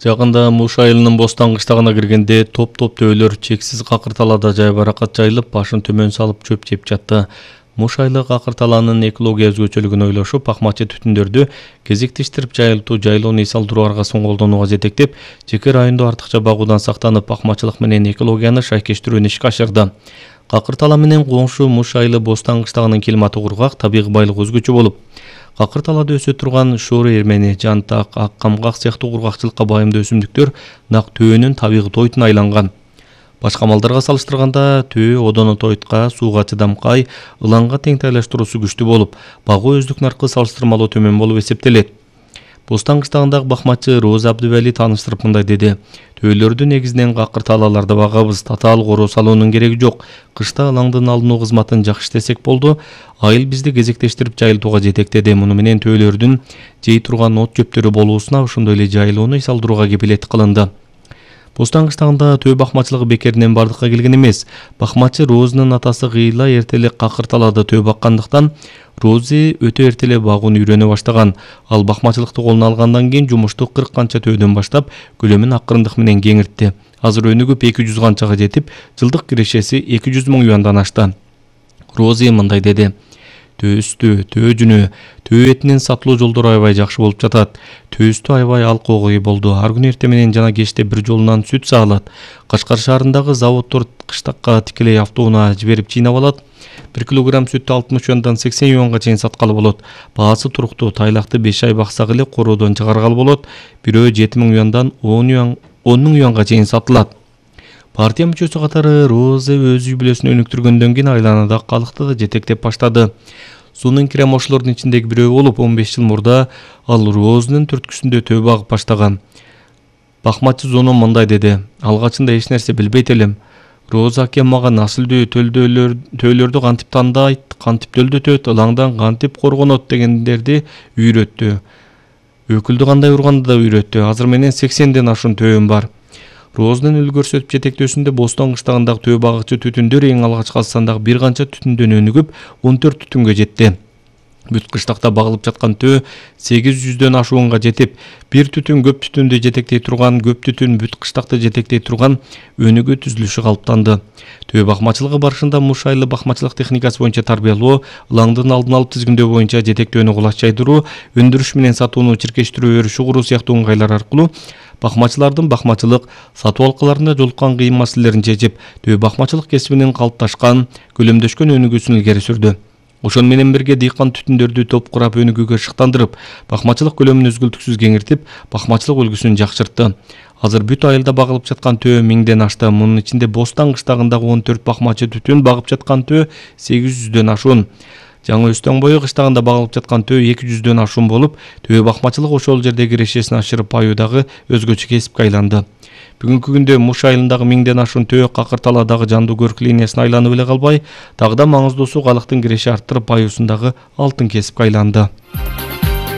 Жагында Муш айылынын Бостан кыштагына киргенде топ-топ төөлөр чексиз какырталада жайбаракат жайылып, башын төмөн салып чөп жеп жатты. Муш айылы какырталанын экология өзгөчөлүгүн ойлошуп, акмачы түтүндөрдү кезектештирип жайылтуу, жайлоону эс алдыруу аргасын колдонууга жетектеп, жеке райондо артыкча багуудан сактанып, акмачылык менен экологияны шайкештирүүнү ишке ашырды. Какыртала менен коңшу Муш айылы Бостан кыштагынын климаты кургак, табигый байлыгы өзгөчө болуп, какырталада өсө турган шоору эрмени, жантак, ак камгак сыяктуу кургакчылыкка байымдуу өсүмдүктөр нак төөнүн табигый тойтуна айланган. Башка малдарга салыштырганда төө одонотойтка, сууга чыдамкай, ылаңга тең тайлаштыруусу күчтүү болуп, багуу өздүк наркы салыштырмалуу төмөн болуп эсептелет. Бостан кыштагындагы бакмачы Роза Абдывали тааныштырып мындай деди: "Төөлөрдү негизинен какырталаларда багабыз, татаал короо салуунун кереги жок. Кышта ылаңдын алынуу кызматын жакшы иштесек болду. Айыл бизди кезектештирип жайылтууга жетектеди. Муну менен төөлөрдүн жей турган от жөптөрү болуусуна, ошондой эле жайылууну эс алдырууга кепилеттик кылынды." Бостан кыштагында төө бакмачылыгы бекеринен бардыкка келген эмес. Бакмачы Розанын атасы Гыйла эрте эле какырталада төө баккандыктан, Рози өтө эрте эле багууну үйрөнө баштаган. Ал бакмачылыкты колуна алгандан кийин жумушту 40 канча төөдөн баштап, көлөмүн акырындык менен кеңиртти. Азыр өнүгүп 200 канчага жетип, жылдык кирешеси 200 000 юандан ашты. Рози мындай деди: "Төөстү, төө жүнү, төө этинин сатылуу жолдору аябай жакшы болуп жатат. Төөстү аябай алкогой болду. Ар күнү эрте менен жана кечте бир жолунан сүт саалат. Кашкар шаарындагы заводдор кыштакка тикелей автоунаа жиберип чыйнап алат. 1 килограмм сүттү 60 юандан 80 юанга чейин саткалы болот. Баасы туруктуу, тайлакты 5 ай баксак эле короодон чыгаргалы болот. Бирөө 7 000 юандан 10 000 юанга чейин сатылат." Партия мүчөсү катары Роза өз үй бүлөсүн өнүктүргөндөн кийин айланадагы калыкты да жетектеп баштады. Сунун кирем ошолордун ичиндеги бирөө болуп, 15 жыл мурда ал Розанын түрткүсүндө төө багып баштаган. Бакмачы Зоно мындай деди: "Алгачында эч нерсе билбейт элем. Роза акем мага насылдуу төөлөрдү кантип тандайт, кантип төлдөтөт, ылаңдан кантип коргонот дегендерди үйрөттү. Өкүлдү кандай урганды да үйрөттү. Азыр менен 80ден ашуун төөм бар." Розанын өл көрсөтүп жетектөөсүндө Бостан кыштагындагы төө багычы түтүндөр эң алгач Казакстандагы бир канча түтүндөн өнүгүп, 14 түтүнгө жетти. Бүт кыштакта багылып жаткан төө 800дөн ашуунга жетип, бир түтүн көп түтүндү жетектей турган, көп түтүн бүт кыштакты жетектей турган өнүгүү түзүлүшү калыптанды. Төө бакмачылыгы барышында Муш айылы бакмачылык техникасы боюнча тарбиялоо, ылаңдын алдын алып тизгиндөө боюнча жетектөөнү кулач жайдыруу, өндүрүш менен сатууну чиркештирүү өрүшү куруу сыяктуу ыңгайлар аркылуу бакмачылардын бакмачылык, сатуу алкаларында жолуккан кыйын маселелерин чечип, төө бакмачылык кесибинин калыпташкан, көлөмдөшкөн өнүгүүсүн илгери сүрдү. Ошону менен бирге дыйкан түтүндөрдү топ курап өнүгүүгө шыктандырып, бакмачылык көлөмүн үзгүлтүксүз кеңиртип, бакмачылык үлгүсүн жакшыртты. Азыр бүт айылда багылып жаткан төө 1000ден ашты. Мунун ичинде Бостан кыштагындагы 14 бакмачы түтүн багып жаткан төө 800дөн ашуун. Жаңы Өстөн бою кыштагында багылып жаткан төө 200дөн ашуун болуп, төө бакмачылык ошол жердеги кирешесин ашырып аюудагы өзгөчө кесипке айланды. Бүгүнкү күндө Муш айылындагы 1000ден ашуун төө какырталадагы жандуу көрк линиясына айланып эле калбай, дагы да маңыздуусу калктын киреши арттырып аюусундагы алтын кесипке айланды.